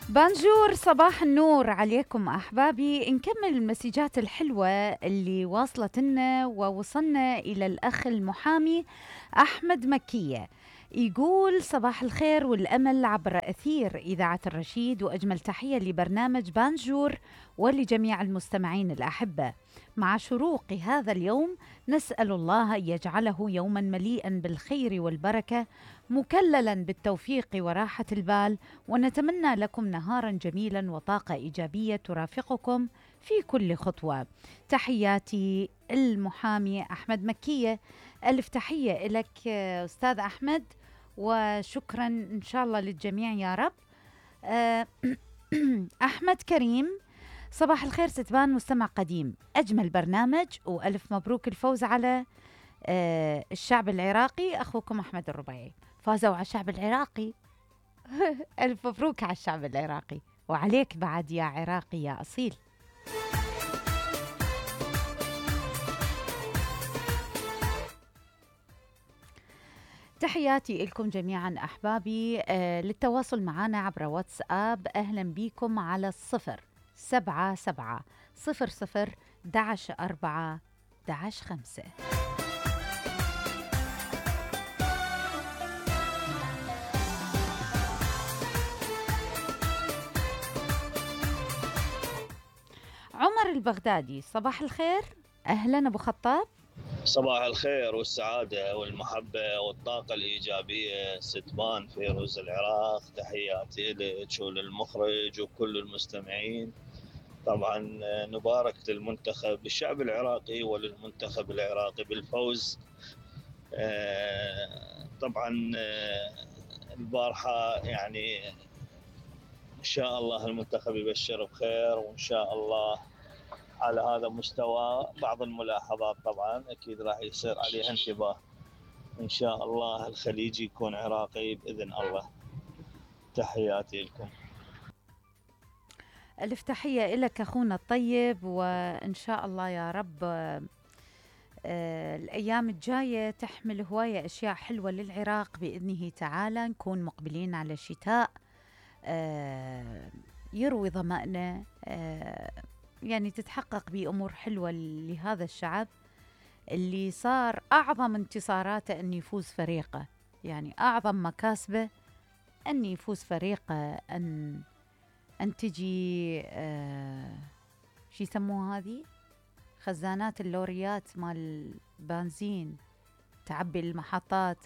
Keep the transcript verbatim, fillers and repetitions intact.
بانجور، صباح النور عليكم أحبابي. نكمل المسجات الحلوة اللي واصلت لنا ووصلنا إلى الأخ المحامي أحمد مكية. يقول صباح الخير والأمل عبر أثير إذاعة الرشيد، وأجمل تحية لبرنامج بانجور ولجميع المستمعين الأحبة. مع شروق هذا اليوم نسأل الله أن يجعله يوما مليئا بالخير والبركة، مكللا بالتوفيق وراحة البال، ونتمنى لكم نهارا جميلا وطاقة إيجابية ترافقكم في كل خطوة. تحياتي المحامي أحمد مكية. ألف تحية لك أستاذ أحمد، وشكرا إن شاء الله للجميع يا رب. أحمد كريم، صباح الخير ستبان مستمع قديم، أجمل برنامج، وألف مبروك الفوز على الشعب العراقي. أخوكم أحمد الربيعي. فازوا على الشعب العراقي. ألف مبروك على الشعب العراقي، وعليك بعد يا عراقي يا أصيل. تحياتي لكم جميعا أحبابي. آه للتواصل معنا عبر واتساب أهلا بكم على الصفر سبعة سبعة صفر صفر دعش أربعة دعش خمسة. عمر البغدادي، صباح الخير، أهلا أبو خطاب. صباح الخير والسعادة والمحبة والطاقة الإيجابية ستبان فيروز العراق. تحياتي لك وللمخرج وكل المستمعين. طبعا نبارك للمنتخب، للشعب العراقي وللمنتخب العراقي بالفوز. طبعا البارحة يعني إن شاء الله المنتخب يبشر بخير، وإن شاء الله على هذا المستوى بعض الملاحظات طبعا أكيد راح يصير عليها انتباه. إن شاء الله الخليجي يكون عراقي بإذن الله. تحياتي لكم. ألف تحية لك أخونا الطيب، وإن شاء الله يا رب آه الأيام الجاية تحمل هواية أشياء حلوة للعراق بإذنه تعالى. نكون مقبلين على شتاء آه يروي ظمأنا، آه يعني تتحقق بأمور حلوة لهذا الشعب اللي صار أعظم انتصاراته أن يفوز فريقه، يعني أعظم مكاسبه أن يفوز فريقه، أن أن تجي آه شي يسموها هذه خزانات اللوريات مال بنزين تعبي المحطات